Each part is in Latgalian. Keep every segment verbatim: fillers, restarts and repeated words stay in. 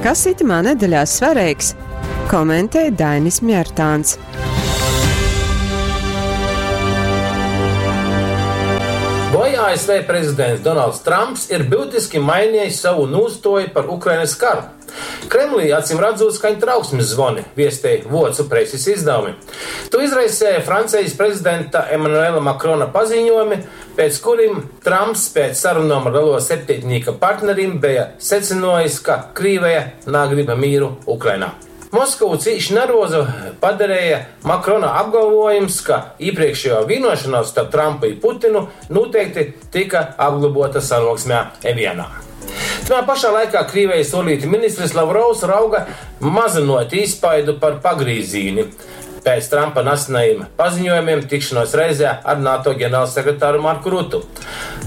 Kas itymā nedeļā svareigs, komentej Dainis Mjartāns. Voi A S V prezidents Donalds Trumps ir byutiski mainejs sovu nūstuoju par Ukrainys karu? Kremlī acim radzūt skaņ trauksmis zvoni, viestej vuocu presis izdavumi. Tū izraiseja Francejis prezidenta Emanuela Makrona paziņuojumi, pēc kurim Trumps pēc sarunom ar Lielo septeitnīka partnerim beja secynuojs, ka Krīveja nagrib mīru Ukrainā. Moskovu cīši nervozu padareja Makrona apgalvojums, ka iepriekšējo vienošanos starp Trumpu i Putinu noteikti tika apglabota sanuoksmē Evianā. Tamā pašā laikā Krīvijas uorlītu ministrs Lavrovs rauga mazynot īspaidu par pagrīzīni pēc Trumpa nesenajiem paziņojumiem tikšanos reizē ar NATO ģenerālsekretāru Marku Rutu.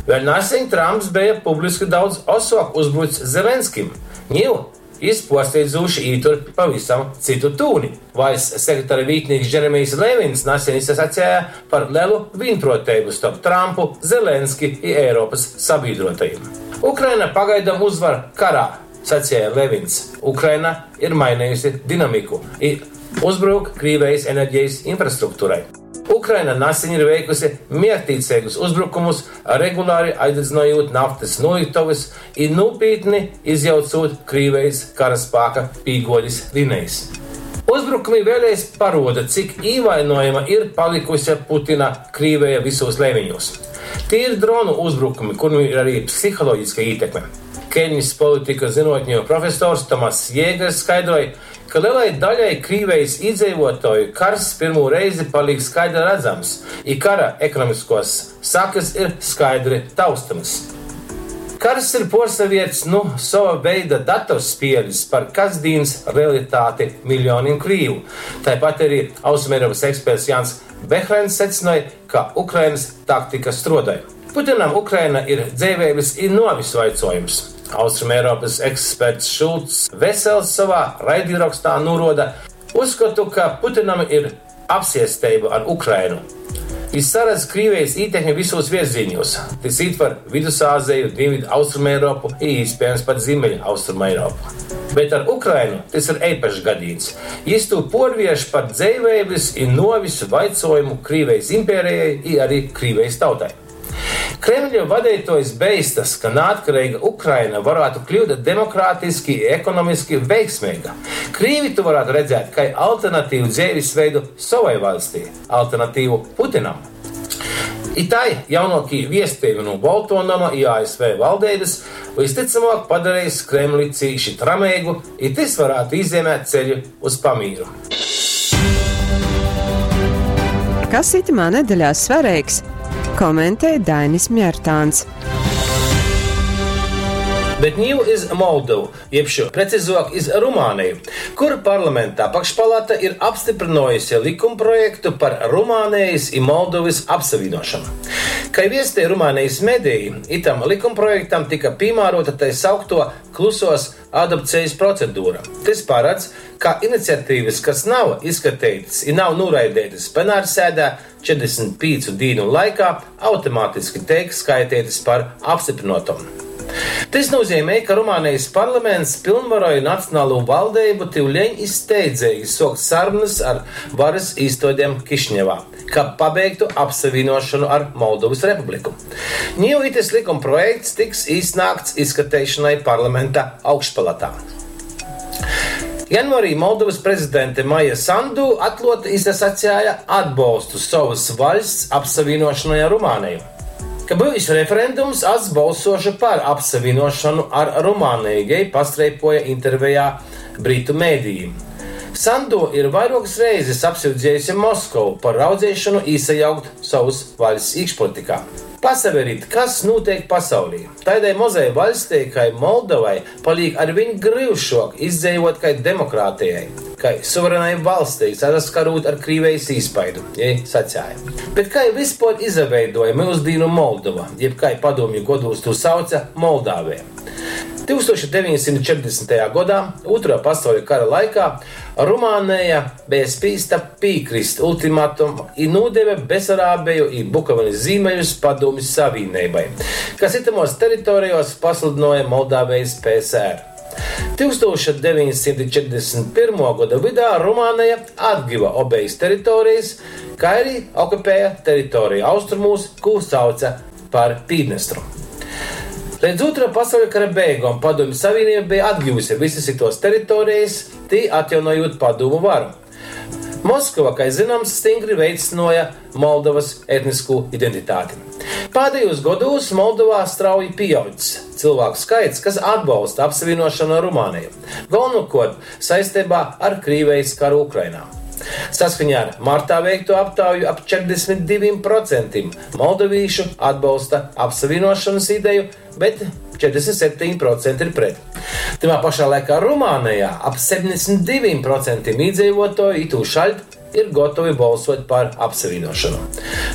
Vēļ naseņ Trumps beja publiski daudz osuok uzbrucs Zelenskim. Niu jis puorsteidzūši ītur pavisam cytu tūni. Vaļsts sekretara vītnīks Džeremijs Levins naseņ izasaceja par lelu vīnpruoteibu storp Trumpu, Zelenski i Eiropys sabīdruotajim. Ukraina pagaidom uzvar karā, saceja Levins. Ukraina ir mainejusi dinamiku i uzbruk Krīvejis energejis infrastrukturai. Ukraina naseņ ir veikusi mierktīceigus uzbrukumus, regulāri aizdedzynojūt naftys nūlyktovys i nūpītni izjaucūt Krīvejis karaspāka pīguodis linejis. Uzbrukumi vēļreiz paruoda, cik īvainojama ir palykuse Putina Krīveja vysūs leimiņūs. Tī ir dronu uzbrukumi, kurim ir arī psiholoģiska ītekme. Keļnis politikas zynuotņu profesors Tomass Jēgers skaidroj, ka lielai daļai Krīvejis īdzeivuotuoju kars pyrmū reizi palīk skaidri radzams, i kara ekonomiskuos sakys ir skaidri taustamys. Kars ir puorsavierts nu sova veida datorspielis par kasdīnys realitāti miļjonim krīvu. Taipat ari Austrumeiropys eksperts Jans Behrens secynoj, ka Ukrainys taktika struodoj. Putinam Ukraina ir dzeiveibys i nuovis vaicuojums. Austrumeiropys eksperts Šulcs Vesels sovā raidīrokstā nūruoda: Uzskotu, ka Putinam ir apsiesteiba ar Ukrainu. Jis saredz Krīvejis ītekmi vysūs vierzīņūs. Tys ītver Vidusāzeju, Dīnvydu Austrumeiropu i, īspiejams, pat Zīmeļu Austrumeiropu. Bet ar Ukrainu tys ir eipašs gadīņs. Jis tū puorvierš par dzeiveibys i nuovis vaicuojumu Krīvejis imperejai i ari Krīvejis tautai. Kremļa vadeituojs beistas, ka naatkareiga Ukraina varātu kliut demokratiski i ekonomiski veiksmeiga. Krīvi tū varātu redzēt kai alternatīvu dzeivisveidu sovai vaļstij, alternatīvu Putinam. I tai jaunuokī viestejumi nu Boltuo noma i A S V valdeibys vystycamuok padareis Kremli cīši trameigu, i tys varātu īzeimēt ceļu uz pamīru. Kas itymā nedeļā svareigs, komentej Dainis Mjartāns. Bet niu iz Moldovu, jeb šo precizuok iz Rumāneju, kur parlamenta apakšpalata ir apstyprynuojuse likumprojektu par Rumānejis i Moldovys apsavīnuošonu. Kai viestej Rumānejis medeji, itam likumprojektam tyka pīmāruota tai sauktuo klusuos adopcejis procedura. Tys paradz, ka iniciatīvys, kas nav izskateitys i nav nūraideitys plenārsēdē četrdesmit pīcu dīnu laikā, automatiski teik skaiteitys par apstyprynuotom. Tys nūzeimej, ka Rumānejis parlaments pylnvaroj Nacionalū valdeibu tiuleņ i steidzeigi suokt sarunys ar varys īstuodem Kišiņevā, kab pabeigtu apsavīnuošonu ar Moldovys Republiku. Niu itys likumprojekts tiks īsnāgts izskateišonai parlamenta augšpalatā. Janvuarī Moldovys prezidente Maija Sandu atkluoti izasaceja atbolstu sovys vaļsts apsavīnuošonai ar Rumāneju. Ka byus referendums, as bolsuošu par apsavīnuošonu ar Rumāneju, jei pastreipuoja intervejā britu medijim. Sandu ir vairuokys reizis apsyudziejuse Moskovu par raudzeišonu īsajaukt sovys vaļsts īkšpolitikā. Pasaverit, kas nūteik pasaulī. Taidai mozai vaļstei kai Moldovai palīk arviņ gryušuok izdzeivuot kai demokrātejai, kai suverenai valstei, sasaskarūt ar Krīvejis īspaidu, jei saceja. Bet kai vyspuor izaveiduoja myusdīnu Moldova, jeb kai padūmju godūs tū sauca Moldāveja? tūkstoš deveņsimt četrdesmitajā godā, Ūtruo pasauļa kara laikā, Rumāneja beja spīsta pīkrist ultimatumam i nūdeve Besarābeju i Bukovinys zīmeļus Padūmju Savīneibai, kas itamuos teritorejuos pasludynuoja Moldāvejis P S R. tūkstoš deveņsimt četrdesmit pyrmuo goda vydā Rumāneja atgiva obejas teritorijas, kā arī okupēja teritoriju austrumūs, kū sauca par Pīdnestru. Līdz Otrā pasauļa kara beigom Padomju Savienība bija atgivusi visas tos teritorijas, tī atjaunojot padomu varu. Moskava, kā zināms, stingri veicināja Moldovas etnisko identitāti. Pēdējos gados Moldovā strauji pieaudzis cilvēku skaits, kas atbalsta apsavienošanu ar Rumāniju, galvenokārt saistībā ar Krievijas karu Ukrainā. Saskaņā ar martā veikto aptauju ap četrdesmit diviem procentiem moldovīšu atbalsta apsavienošanas ideju, bet četrdesmit septiņi procenti ir pret. Timā pašā laikā Rumānijā ap septiņdesmit diviem procentiem iedzīvotāju itūšaļt ir gatavi balsot par apsavienošanu.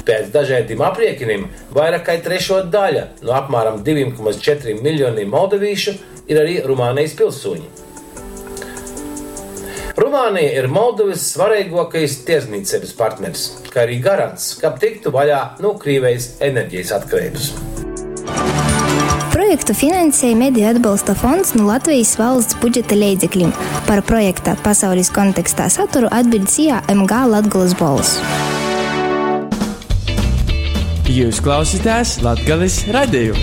Pēc dažādiem aprēķiniem vairāk kā trešo daļa no apmēram diviem komats četriem miljoniem moldovīšu ir arī Rumānijas pilsoņi. Rumānija ir Moldovas svarīgākais tirdzniecības partneris, kā arī garants, ka tiktu vaļā no Krievijas enerģijas atkarības. Projektu finansēja Mediju atbalsta fonds no Latvijas valsts budžeta leidzekļiem. Par projekta pasaules kontekstā saturu atbild S I A M G Latgolas balss. Jūs klausāties Latgales radiju.